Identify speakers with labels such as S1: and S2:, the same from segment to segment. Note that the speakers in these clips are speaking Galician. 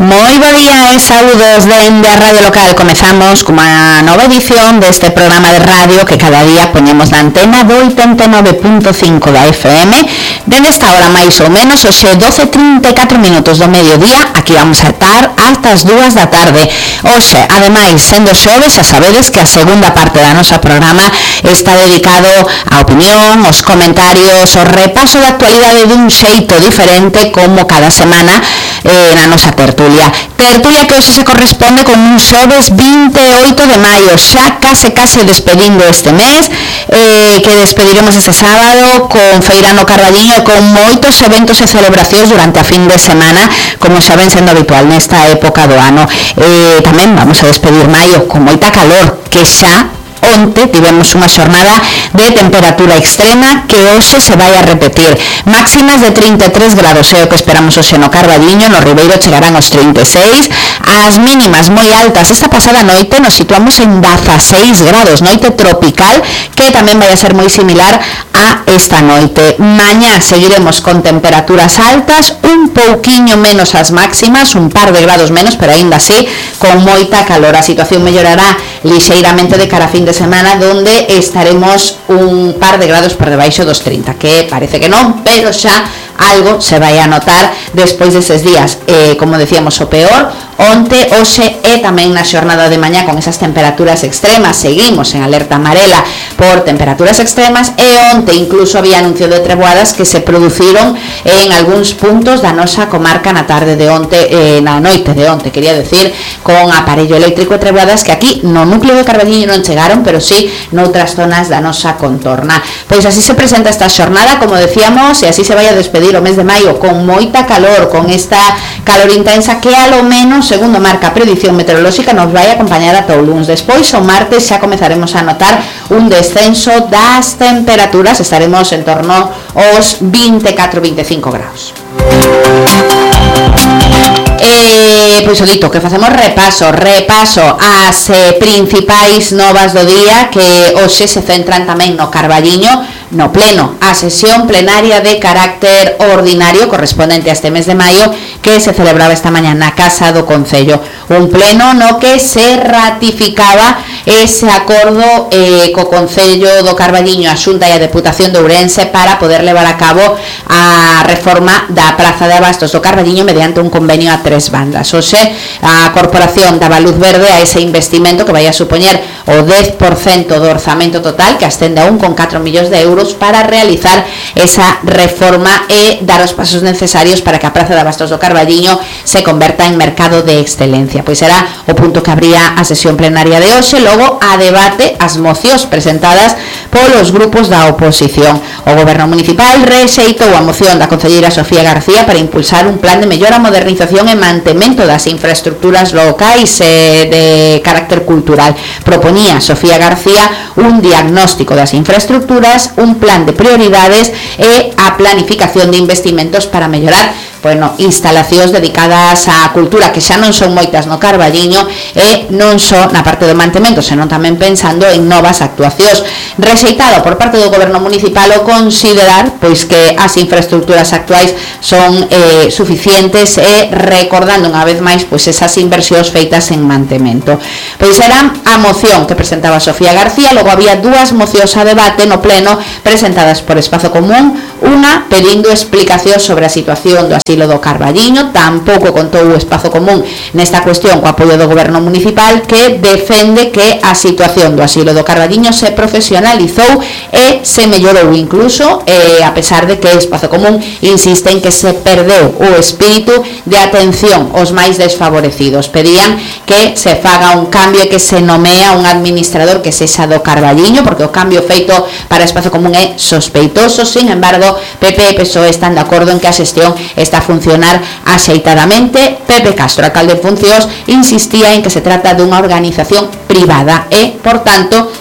S1: Moi bo día e saúdos dende a Radio Local. Comezamos cunha nova edición deste programa de radio que cada día poñemos na antena do 89.5 da FM. Dende esta hora máis ou menos, hoxe 12:34 minutos do mediodía, aquí vamos a estar hasta as 2 da tarde. Hoxe, ademais, sendo xoves, xa sabedes que a segunda parte da nosa programa está dedicado á opinión, aos comentarios, ao repaso da actualidade dun xeito diferente como cada semana na nosa tertulia que hoxe se corresponde con un xoves 28 de maio, xa case despedindo este mes, que despediremos este sábado con Feira no Carballiño, con moitos eventos e celebracións durante a fin de semana, como xa ven sendo habitual nesta época do ano. Tamén vamos a despedir maio con moita calor, que xa onte tivemos unha xornada de temperatura extrema que hoxe se vai a repetir. Máximas de 33 grados é o que esperamos hoxe no Carballiño, no Ribeiro chegarán aos 36, as mínimas moi altas. Esta pasada noite nos situamos en 16 grados, noite tropical, que tamén vai a ser moi similar a esta noite. Mañá seguiremos con temperaturas altas, un pouquiño menos as máximas, un par de grados menos, pero aínda así con moita calor. A situación mellorará lixeiramente de cara a fin de semana, donde estaremos un par de grados por debaixo dos 30, que parece que non, pero xa algo se vai a notar despois deses días. Como decíamos, o peor onte, hoxe e tamén na xornada de mañá con esas temperaturas extremas. Seguimos en alerta amarela por temperaturas extremas e onte incluso había anuncio de treboadas que se produciron en algúns puntos da nosa comarca na tarde de onte, na noite de onte, quería decir, con aparello eléctrico e treboadas que aquí no núcleo de Carballiño non chegaron, pero sí noutras zonas da nosa contorna. Pois así se presenta esta xornada, como decíamos, e así se vai a despedir o mes de maio con moita calor, con esta calor intensa que a lo menos, segundo marca a predición meteorolóxica, nos vai a acompañar ata o luns. Despois, o martes, xa comezaremos a notar un descenso das temperaturas, estaremos en torno aos 24-25 graus. Pois o dito, que facemos repaso ás principais novas do día, que hoxe se centran tamén no Carballiño, no pleno, a sesión plenaria de carácter ordinario correspondente a este mes de maio que se celebraba esta mañá na Casa do Concello. Un pleno no que se ratificaba ese acordo co Concello do Carballiño, a Xunta e a Deputación de Ourense para poder levar a cabo a reforma da Praza de Abastos do Carballiño mediante un convenio a 3 bandas. Hoxe, a Corporación daba luz verde a ese investimento que vai a supoñer o 10% do orzamento total, que ascende a 1,4 millóns de euros, para realizar esa reforma e dar os pasos necesarios para que a Praza de Abastos do Carballiño se converta en mercado de excelencia. Pois será o punto que abría a sesión plenaria de hoxe, logo a debate as mocións presentadas polos grupos da oposición. O Goberno Municipal rexeitou a moción da concelleira Sofía García para impulsar un plan de mellora, modernización e mantemento das infraestructuras locais de carácter cultural. Proponía Sofía García un diagnóstico das infraestructuras, un plan de prioridades e a planificación de investimentos para mellorar instalacións dedicadas á cultura, que xa non son moitas no Carballiño, e non só na parte do mantemento, senón tamén pensando en novas actuacións. Rexeitado por parte do Goberno Municipal o considerar pois que as infraestructuras actuais son suficientes, e recordando unha vez máis pois esas inversións feitas en mantemento. Pois era a moción que presentaba Sofía García. Logo había dúas mocións a debate no pleno presentadas por Espazo Común, unha pedindo explicacións sobre a situación do asilo do Carballiño. Tampouco contou o Espazo Común nesta cuestión co apoio do Goberno Municipal, que defende que a situación do asilo do Carballiño se profesionalizou e se mellorou incluso, a pesar de que o Espazo Común insiste en que se perdeu o espírito de atención aos máis desfavorecidos. Pedían que se faga un cambio e que se nomea un administrador que sexa do Carballiño, porque o cambio feito para Espazo Común é sospeitoso. Sin embargo, PP e PSOE están de acordo en que a xestión está a funcionar axeitadamente. Pepe Castro, alcalde en funcións, insistía en que se trata dunha organización privada e, por tanto,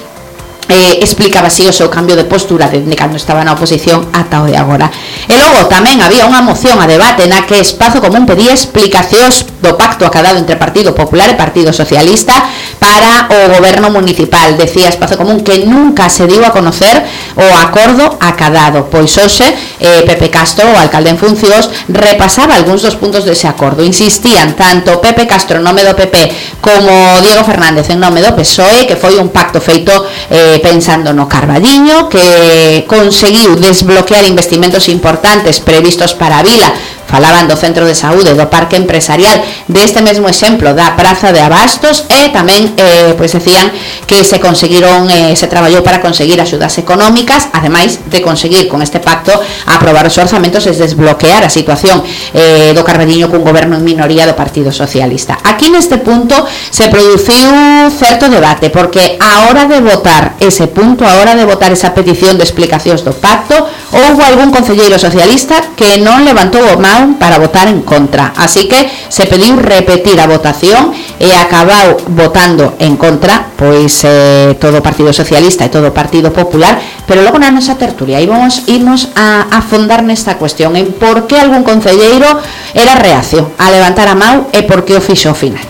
S1: explicaba así o seu cambio de postura desde cando estaba na oposición ata o de agora. E logo tamén había unha moción a debate na que Espazo Común pedía explicacións do pacto acadado entre Partido Popular e Partido Socialista para o goberno municipal. Decía Espazo Común que nunca se dio a conocer o acordo acadado. Pois hoxe Pepe Castro, o alcalde en funcións, repasaba algúns dos puntos dese acordo. Insistían tanto Pepe Castro en nome do PP como Diego Fernández en nome do PSOE que foi un pacto feito pensando no Carballiño, que conseguiu desbloquear investimentos importantes previstos para a vila. Falaban do centro de saúde, do parque empresarial, deste mesmo exemplo da praza de abastos, e tamén pois decían que se conseguiron, se traballou para conseguir axudas económicas, ademais de conseguir con este pacto aprobar os orzamentos e desbloquear a situación do Carballiño cun goberno en minoría do Partido Socialista. Aquí neste punto se produciu certo debate, porque a hora de votar ese punto, a hora de votar esa petición de explicacións do pacto, houve algún concelleiro socialista que non levantou o mão para votar en contra, así que se pediu repetir a votación e acabou votando en contra pois todo o Partido Socialista e todo o Partido Popular. Pero logo na nosa tertulia íbamos a afondar nesta cuestión en por que algún concelleiro era reacio a levantar a mão e por que o fixo ao final.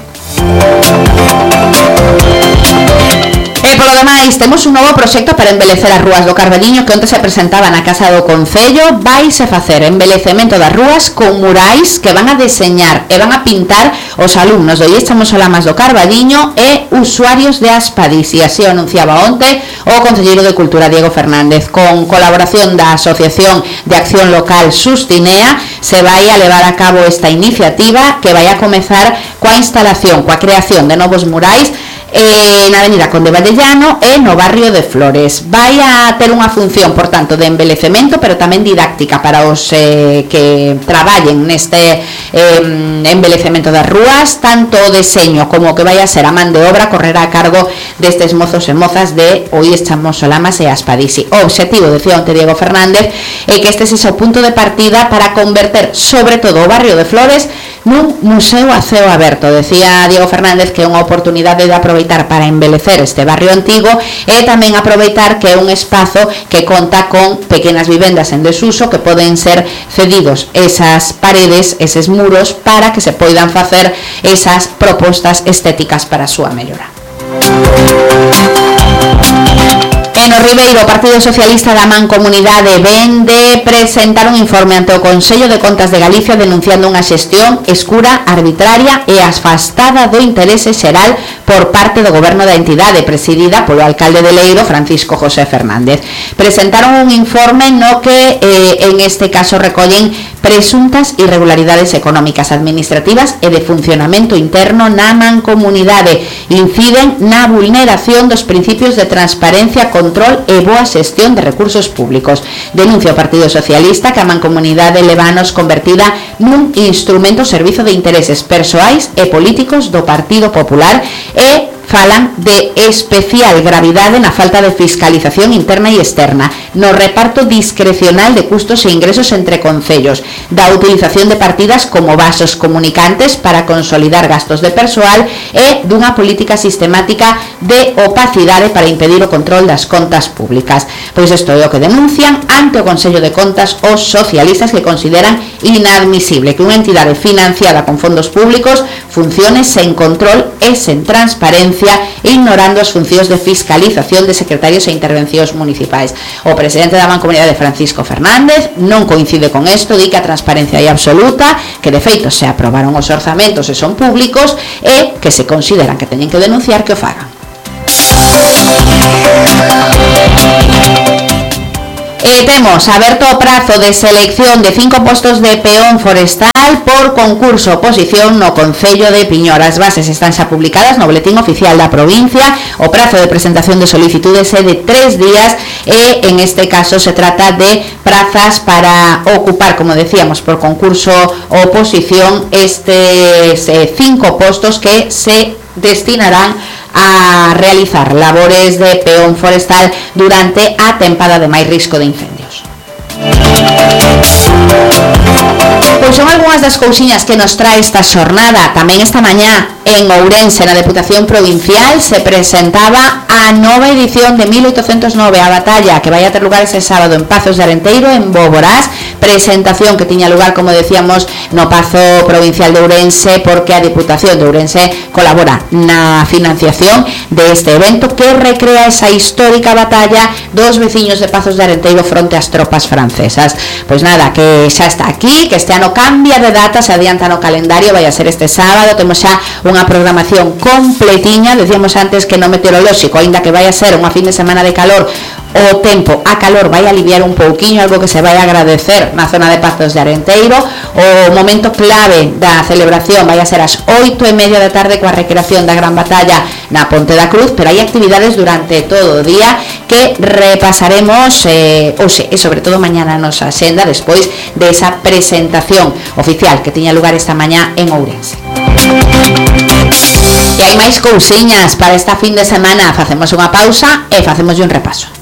S1: E polo demais, temos un novo proxecto para embelecer as rúas do Carballiño que onte se presentaba na Casa do Concello. Vaise facer embelecemento das rúas con murais que van a deseñar e van a pintar os alumnos do IES Chamoslamas do Carballiño e usuarios de Aspadis, e así o anunciaba onte o concelleiro de Cultura Diego Fernández. Con colaboración da Asociación de Acción Local Sustinea se vai a levar a cabo esta iniciativa que vai a comezar coa instalación, coa creación de novos murais na avenida Conde Vallellano e no barrio de Flores. Vai a ter unha función, por tanto, de embelecemento, pero tamén didáctica para os que traballen neste embelecemento das rúas. Tanto o deseño como o que vai a ser a man de obra correrá a cargo destes mozos e mozas de o IES Chamoslamas e Aspadisi. O obxectivo, decía onte Diego Fernández, é que este sexa o punto de partida para converter, sobre todo, o barrio de Flores nun museo a ceo aberto. Decía Diego Fernández que é unha oportunidade de aproveitar para embelecer este barrio antigo e tamén aproveitar que é un espazo que conta con pequenas vivendas en desuso que poden ser cedidos esas paredes, eses muros, para que se poidan facer esas propostas estéticas para a súa mellora. En o Ribeiro, o Partido Socialista da Mancomunidade ven de presentar un informe ante o Consello de Contas de Galicia denunciando unha xestión escura, arbitraria e afastada do interese xeral por parte do goberno da entidade, presidida polo alcalde de Leiro, Francisco José Fernández. Presentaron un informe no que en este caso recollen presuntas irregularidades económicas, administrativas e de funcionamento interno na mancomunidade. Inciden na vulneración dos principios de transparencia, control e boa xestión de recursos públicos. Denuncia o Partido Socialista que a mancomunidade levanos convertida nun instrumento servizo de intereses persoais e políticos do Partido Popular e falan de especial gravidade na falta de fiscalización interna e externa, no reparto discrecional de custos e ingresos entre concellos, da utilización de partidas como vasos comunicantes para consolidar gastos de persoal e dunha política sistemática de opacidade para impedir o control das contas públicas. Pois isto é o que denuncian ante o Consello de Contas os socialistas, que consideran inadmisible que unha entidade financiada con fondos públicos funcione sen control e sen transparencia, ignorando as funcións de fiscalización de secretarios e intervencións municipais. O presidente da Mancomunidade, Francisco Fernández, non coincide con isto, di que a transparencia é absoluta, que de feito se aprobaron os orzamentos e son públicos e que se consideran que teñen que denunciar que o fagan. Temos aberto o prazo de selección de 5 postos de peón forestal por concurso oposición no Concello de Piñor. As bases están xa publicadas no Boletín Oficial da provincia. O prazo de presentación de solicitudes é de 3 días e en este caso se trata de prazas para ocupar, como decíamos, por concurso oposición estes 5 postos que se destinarán a realizar labores de peón forestal durante a tempada de máis risco de incendios. Pois son algunhas das cousiñas que nos trae esta xornada. Tamén esta mañá en Ourense, na Deputación Provincial, se presentaba a nova edición de 1809, a batalla que vai a ter lugar ese sábado en Pazos de Arenteiro, en Boborás, presentación que tiña lugar, como decíamos, no Pazo Provincial de Ourense, porque a Diputación de Ourense colabora na financiación deste evento que recrea esa histórica batalla dos veciños de Pazos de Arenteiro fronte ás tropas francesas. Pois nada, que xa está aquí, que este ano cambia de data, se adianta no calendario, vai a ser este sábado, temos xa unha programación completiña. Decíamos antes que no meteorolóxico, aínda que vai a ser unha fin de semana de calor, o tempo a calor vai aliviar un pouquiño, algo que se vai agradecer na zona de Pazos de Arenteiro. O momento clave da celebración vai a ser ás 8:30 da tarde coa recreación da gran batalla na Ponte da Cruz, pero hai actividades durante todo o día que repasaremos hoxe e sobre todo mañana na nosa axenda despois desa presentación oficial que tiña lugar esta mañá en Ourense. E hai máis cousiñas para esta fin de semana. Facemos unha pausa e facemos un repaso.